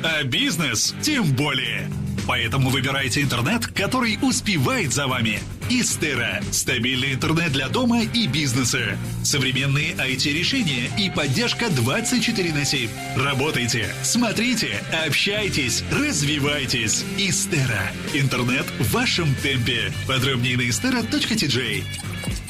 А бизнес тем более. Поэтому выбирайте интернет, который успевает за вами. Истера. Стабильный интернет для дома и бизнеса. Современные IT-решения и поддержка 24/7. Работайте, смотрите, общайтесь, развивайтесь. Истера. Интернет в вашем темпе. Подробнее на istera.tj.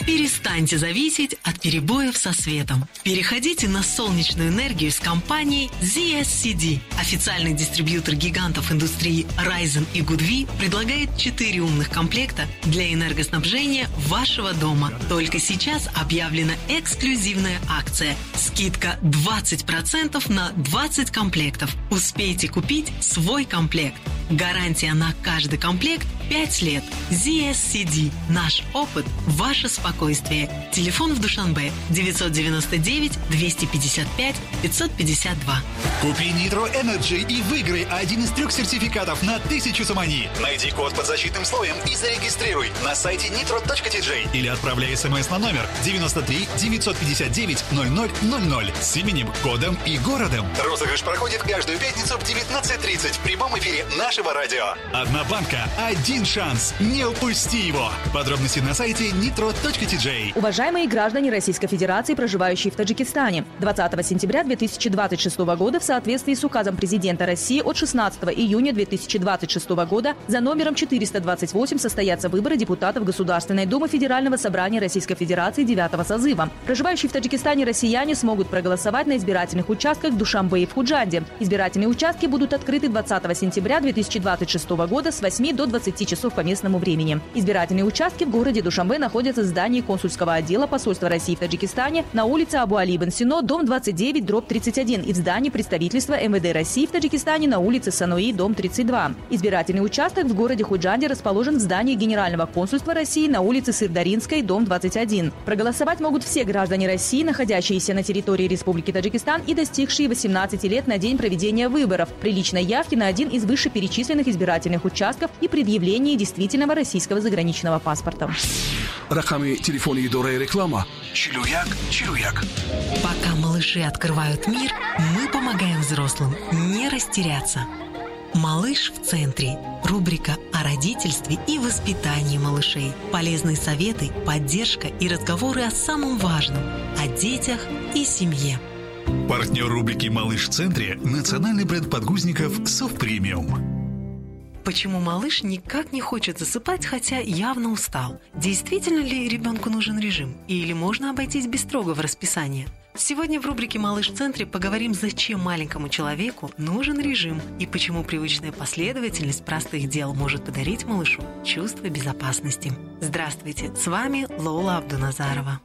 Перестаньте зависеть от перебоев со светом. Переходите на солнечную энергию с компанией ZSCD. Официальный дистрибьютор гигантов индустрии Risen и Goodwe предлагает 4 умных комплекта для энергоснабжения вашего дома. Только сейчас объявлена эксклюзивная акция. Скидка 20% на 20 комплектов. Успейте купить свой комплект. Гарантия на каждый комплект 5 лет. ZSCD. Наш опыт – ваше спокойствие. Телефон в Душанбе 999 255 552. Купи Nitro Energy и выиграй один из 3 сертификатов на 1000 сомони. Найди код под защитным слоем и зарегистрируй на сайте nitro.tj или отправляй смс на номер 93 959 0000 с именем, кодом и городом. Розыгрыш проходит каждую пятницу в 19:30 в прямом эфире нашего радио. Одна банка, один шанс. Не упусти его. Подробности на сайте nitro.tj. Уважаемые граждане Российской Федерации, проживающие в Таджикистане, 20 сентября 2026 года в соответствии с указом президента России от 16 июня 2026 года за номером 428 состоятся выборы депутатов Государственной Думы Федерального собрания Российской Федерации 9 созыва. Проживающие в Таджикистане россияне смогут проголосовать на избирательных участках в Душанбе и в Худжанде. Избирательные участки будут открыты 20 сентября 2026 года с 8 до 20 часов по местному времени. Избирательные участки в городе Душанбе находятся в здании консульского отдела посольства России в Таджикистане на улице Абу Али ибн Сино, дом 29/31 и в здании представительства МВД России в Таджикистане на улице Сануи, дом 32. Избирательный участок в городе Худжанде расположен в здании Генерального консульства России на улице Сырдаринской, дом 21. Проголосовать могут все граждане России, находящиеся на территории Республики Таджикистан и достигшие 18 лет на день проведения выборов, при личной явке на один из вышеперечисленных избирательных участков и предъявлении действительного российского заграничного паспорта. Рақами телефони идораи реклама 41 41. Пока малыши открывают мир, мы помогаем взрослым не растеряться. «Малыш в центре» – рубрика о родительстве и воспитании малышей. Полезные советы, поддержка и разговоры о самом важном – о детях и семье. Партнер рубрики «Малыш в центре» – национальный бренд подгузников «Сов Премиум». Почему малыш никак не хочет засыпать, хотя явно устал? Действительно ли ребенку нужен режим? Или можно обойтись без строгого расписания? Сегодня в рубрике «Малыш в центре» поговорим, зачем маленькому человеку нужен режим и почему привычная последовательность простых дел может подарить малышу чувство безопасности. Здравствуйте, с вами Лола Абдуназарова.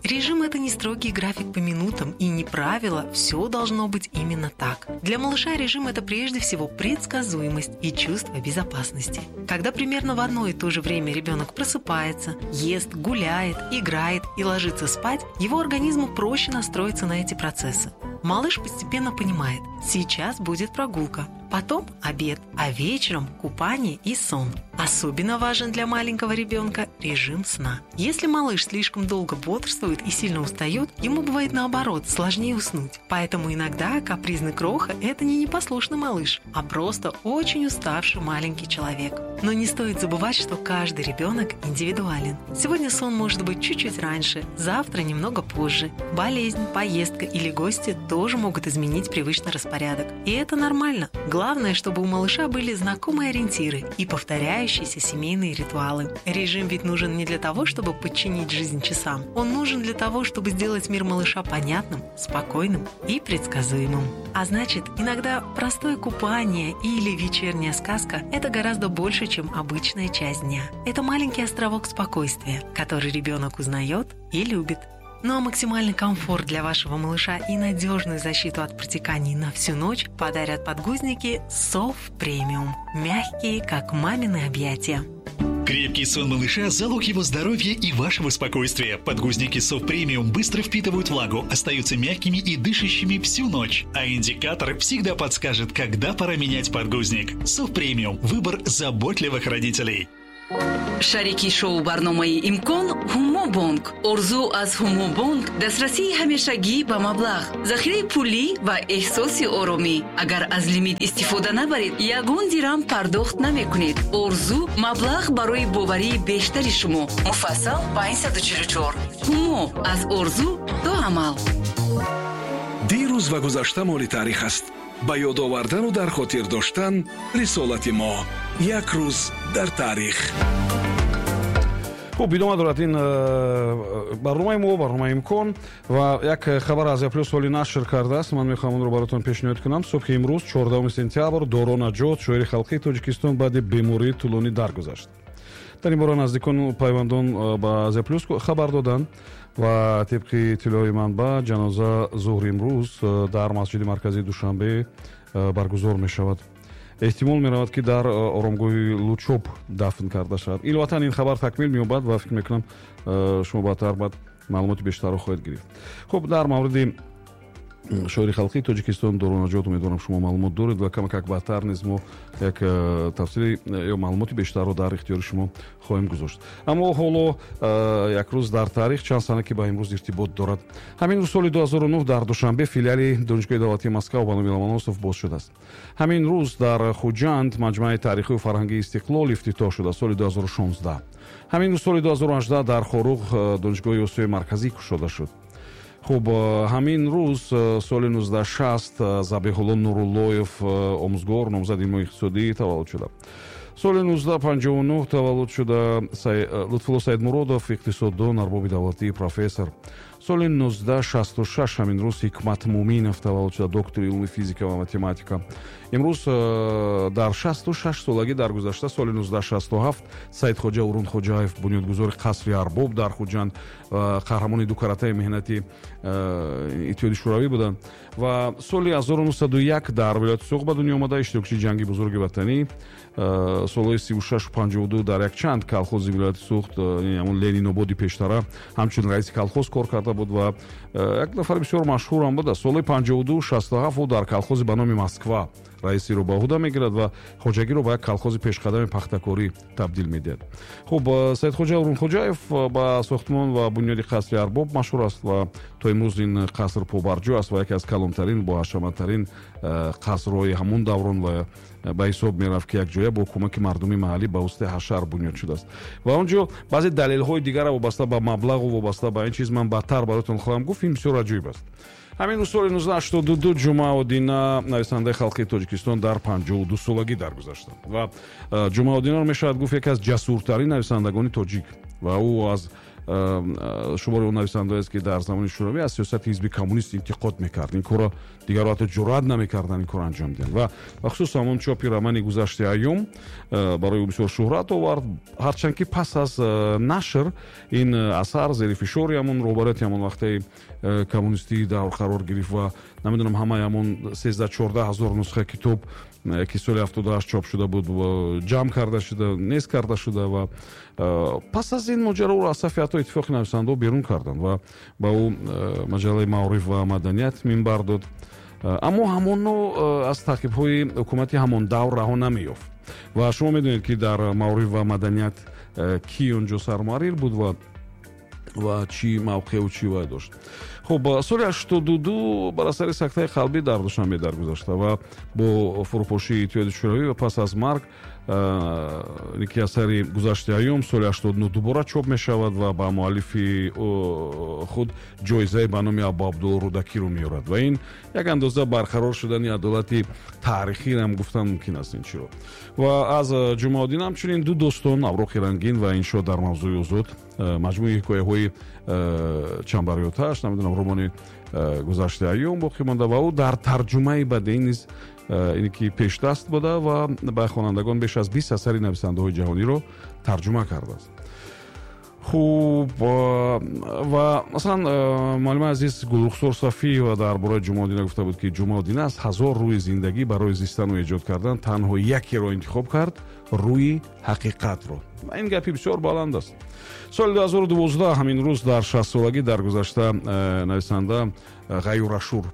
Режим – это не строгий график по минутам и не правило, все должно быть именно так. Для малыша режим – это прежде всего предсказуемость и чувство безопасности. Когда примерно в одно и то же время ребенок просыпается, ест, гуляет, играет и ложится спать, его организму проще настроиться на эти процессы. Малыш постепенно понимает – сейчас будет прогулка, потом обед, а вечером купание и сон. Особенно важен для маленького ребенка режим сна. Если малыш слишком долго бодрствует и сильно устает, ему бывает наоборот, сложнее уснуть. Поэтому иногда капризный кроха – это не непослушный малыш, а просто очень уставший маленький человек. Но не стоит забывать, что каждый ребенок индивидуален. Сегодня сон может быть чуть-чуть раньше, завтра немного позже. Болезнь, поездка или гости тоже могут изменить привычный распорядок. И это нормально. Главное, чтобы у малыша были знакомые ориентиры и повторяющиеся семейные ритуалы. Режим ведь нужен не для того, чтобы подчинить жизнь часам. Он нужен для того, чтобы сделать мир малыша понятным, спокойным и предсказуемым. А значит, иногда простое купание или вечерняя сказка – это гораздо больше, чем обычная часть дня. Это маленький островок спокойствия, который ребенок узнает и любит. Ну а максимальный комфорт для вашего малыша и надежную защиту от протеканий на всю ночь подарят подгузники «Сов Премиум». Мягкие, как мамины объятия. Крепкий сон малыша – залог его здоровья и вашего спокойствия. Подгузники «Сов Премиум» быстро впитывают влагу, остаются мягкими и дышащими всю ночь. А индикатор всегда подскажет, когда пора менять подгузник. «Сов Премиум» – выбор заботливых родителей. Шарики шоу барномаи «Имкон» Ҳумобонк. Орзу аз Ҳумобонк дастрасии ҳамешагӣ ба маблағ, захираи пулӣ ва эҳсоси оромӣ. Агар аз лимит истифода набаред, ягон дирам пардохт намекунед. Орзу маблағ барои боварии бештари шумо. Муфассал 544. Ҳумо аз орзу то амал. Дирӯз ва гузашта моли таърих аст. Ба ёд овардану дар хотир доштан рисолати мо. Як рӯз дар таърих. Хуб, идома дорад ин барномаи мо, барномаи «Имкон», ва як хабар Азия Плюс ҳоли нашр кардааст, ман мехоҳам онро баротон пешниҳод кунам. Субҳи имрӯз, 14 сентябр, Доро Наҷот, шоири халқии Тоҷикистон, баъди бемории тӯлонӣ даргузашт. Дар ин бора наздикону пайвандон ба Азия Плюс хабар доданд ва тибқи иттилои манбаъ, ҷаноза зуҳри имрӯз дар масҷиди марказии Душанбе баргузор мешавад. Эҳтимол меравад, ки дар оромгоҳи Лучоб дафн карда шавад. Иловатан, ин хабар такмил меёбад ва фикр мекунам, шумо баъдтар баъд маълумоти бештарро хоҳед гирифт. Хуб, дар мавриди шоири халқии Тоҷикистон Доро Наҷот, умедворам, шумо маълумот доред ва камакак баъдтар низ мо як тафсири ё маълумоти бештарро дар ихтиёри шумо хоҳем гузошт. Аммо ҳоло як рӯз дар таърих, чанд сана, ки ба имрӯз иртибот дорад. Ҳамин рӯз, соли 2009, дар Душанбе филиали Донишгоҳи давлатии Москав ба номи Ломоносов боз шудааст. Ҳамин рӯз дар Хуҷанд маҷмӯаи таърихию фарҳангии «Истиқлол» ифтитоҳ шуда, соли 2016. Ҳамин рӯз, соли 2018, дар Хоруғ Донишгоҳи Осиёи Марказӣ кушода шуд. Хуб, ҳамин рӯз, соли 1960, Забиҳулло Нуруллоев, омӯзгор, номзади илмҳои иқтисодӣ, таваллуд шуда. Соли 1959 таваллуд шуда Лутфулло Саидмуродов, иқтисоддон, арбоби давлатӣ, профессор. Соли 1966, ҳамин рӯз, Ҳикмат Муминов таваллуд шуда, доктори илми физика ва математика. Имрӯз дар 66 солагӣ даргузашта, соли 1967, Саидхоҷа Урунхоҷаев, бунёдгузори қасри Арбоб дар Хуҷанд, қаҳрамони дукаратаи меҳнати Иттиҳоди Шӯравӣ буданд ва соли 1901 дар вилояти Суғд ба дунё омада, иштирокчии Ҷанги Бузурги Ватанӣ, солҳои 36-52 дар якчанд колхози вилояти Суғд, ҳамон Ленинободи пештара, ҳамчун раиси колхоз кор карда буд ва як нафари бисёр машҳурам буда. Солҳои 52-67 ӯ дар колхози ба номи Москва раисиро ба ӯҳда мегирад ва хоҷагиро ба як колхози пешқадами пахтакорӣ табдил медиҳад. Хуб, Саидхоҷа Урунхоҷаев ба сохтмон ва бунёди қасри Арбоб машҳур аст ва то имрӯз ин қаср побарҷо аст ва яке аз калонтарин, боҳашаматтарин қасрҳои ҳамон даврон ва ба ҳисоб мерафт, ки якҷоя бо кӯмаки мардуми маҳаллӣ ба воситаи ҳашар бунёд шудааст. Ва он ҷо баъзе далелҳои дигара вобаста ба маблағу вобаста ба ин чиз ман баъдтар бароятон хоҳам гуфт. Ин бисёр аҷоиб аст. Ҳамин рӯз, соли 1982, Ҷумъа Одина, нависандаи халқии Тоҷикистон, дар 52 солагӣ даргузаштанд. Ва Ҷумъа Одинаро мешавад гуфт яке аз ҷасуртарин нависандагони тоҷик ва ӯ аз шумори он нависандаест, ки дар замони Шӯравӣ аз сиёсати ҳизби коммунист интиқод мекард. Ин корро дигарро ҳатто ҷуръат намекарданд ин корро анҷом диҳанд. Ва бахусус ҳамон чопи романи «Гузашти айём» барои ӯ бисёр шӯҳрат овард, ҳарчанд ки пас аз нашр ин асар зери фишори ҳамон роҳбарияти ҳамон вақтаи коммунистии давр қарор гирифт ва намедонам, ҳамаи ҳамон 13-14 ҳазор нусха китоб, ки соли 78 чоп шуда буд, ҷамъ карда шуда, нест карда шуда. Ва пас аз ин моҷаро ӯро аз сафи ҳатто Иттифоқи нависандаҳо берун карданд ва ба ӯ маҷаллаи «Маориф ва маданият» минбар дод, аммо ҳамоно аз таъқибҳои ҳукумати ҳамон давр раҳо намеёфт. Ва шумо медонед, ки дар «Маориф ва маданият» кӣ он ҷо сармуҳаррир буд ва чӣ мавқеу чӣ вай дошт. Хуб, соли 82 бар асари сактаи қалбӣ дар Душанбе даргузашта ва бо фурӯпошии Иттиҳоди Шӯравӣ ва пас аз марг ки асари «Гузашти айём» соли 89 дубора чоп мешавад ва ба муаллифи худ ҷоизаи ба номи Абу Абдулло Рӯдакиро меорад. Ва ин як андоза барқарор шудани адолати таърихиам гуфтан мумкин аст ин чиро. Ва аз Ҷумъа Одина ҳамчунин ду достон, «Авроқи рангин» ва «Иншо дар мавзӯи озод», маҷмӯи ҳикояҳои «Чамбари оташ», намедонам, романи «Гузашти айём» боқӣ монда. Ва ӯ дар тарҷумаи бадеӣ низ ине ки пешдаст буда ва ба хонандагон беш аз 20 асари нависандаҳои ҷаҳониро тарҷума кардааст. Хуб, ва масалан, муаллимаи азиз Гулрухсор Сафиева дар бораи Ҷумъа Одина гуфта буд, ки Ҷумъа Одина аз ҳазор рӯи зиндагӣ барои зистану эҷод кардан танҳо якеро интихоб кард, рӯи ҳақиқатро. Ва ин гапи бисёр баланд аст. Соли 2012, ҳамин рӯз, дар 60-солагӣ даргузашта нависанда Ғаюр Ашур.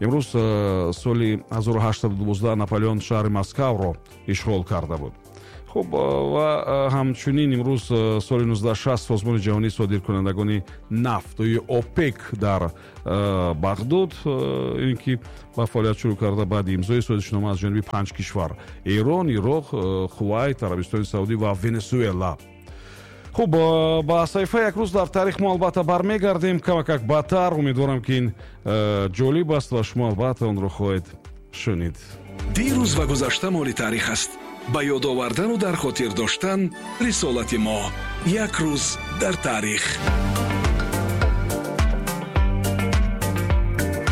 Имрӯз, соли 1812, Наполеон шаҳри Москавро ишғол карда буд. Хуб, ва ҳамчунин имрӯз соли 1960 Созмони ҷаҳонии содиркунандагони нафт ё ОПЕК дар Бағдод ин ки ба фаъолият шурӯъ карда баъди имзои созишнома аз ҷониби панҷ кишвар: Эрон, Ироқ, Хувайт, Арабистони Саудӣ ва Венесуэла. Хуб, ба саҳифаи «Як рӯз дар таърих» мо албатта бармегардем камакак баъдтар. Умедворам, ки ин ҷолиб аст ва шумо албатта онро хоҳед шунид. Дирӯз ва гузашта моли таърих аст. Ба ёд овардану дар хотир доштан рисолати мо. «Як рӯз дар таърих».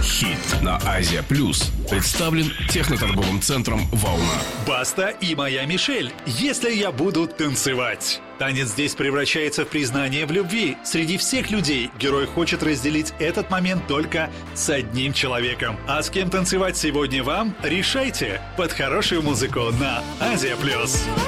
Хит на Азия Плюс представлен техноторговым центром «Волна». Баста и моя Мишель. «Если я буду танцевать». Танец здесь превращается в признание в любви. Среди всех людей герой хочет разделить этот момент только с одним человеком. А с кем танцевать сегодня вам, решайте под хорошую музыку на Азия Плюс.